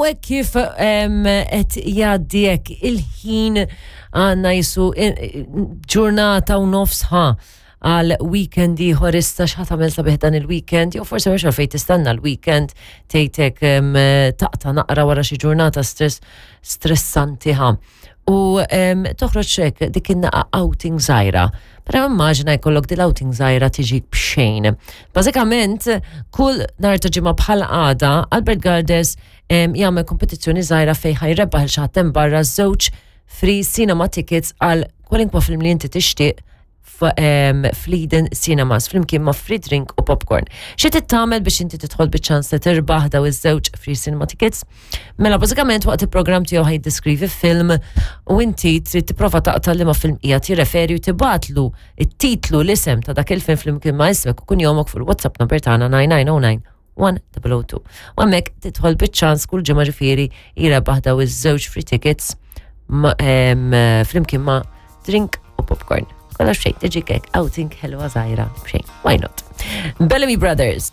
U hekk kif qed jgħaddi hekk il-ħin għandna jisu ġurnata u nofs ħa għal weekend ieħor issa x'ħa tagħmel sabiħ dan il-weekend, jew forsi mhux għalfejn tistenna l-weekend tgħidek taqta' naqra wara xi ġurnata stress stressanti ħa. U toħroġ hekk dik in-naqa outing żgħira. Però immaġina jkollok dil outing żgħira tiġi b'xejn. Bażikament, kull nhar ta' ġimgħa bħal għada, Albert Gardes jagħmel kompetizzjoni żgħira fejn ħajrebbaħ il xi ħadd hemm barra żewġ free cinema tickets għal kwalinkwa film li inti tixtieq fl-Eden Cinemas flimkien ma' free drink u popcorn. Xi trid tagħmel biex inti tidħol biċ-ċans li tirbaħ daw iż-żewġ free cinema tickets? Mela bażikament waqt il-programm tiegħu ħaj jiddeskrivi film u inti trid tipprova taqta' liema film qiegħed jirreferi u tibgħatlu it-titlu l-isem ta' dak il-film flimkien ma' ismek u kunjomok fuq il-WhatsApp number tagħna 9909 1002. U hemmhekk tidħol biċ-ċans kull ġimgħa ġifieri jrebaħ daw iż-żewġ free tickets flimkien ma' drink u popcorn. Kollox xejn, tiġi kek, outing ħelwa żgħira, xejn, why not? Bellamy Brothers.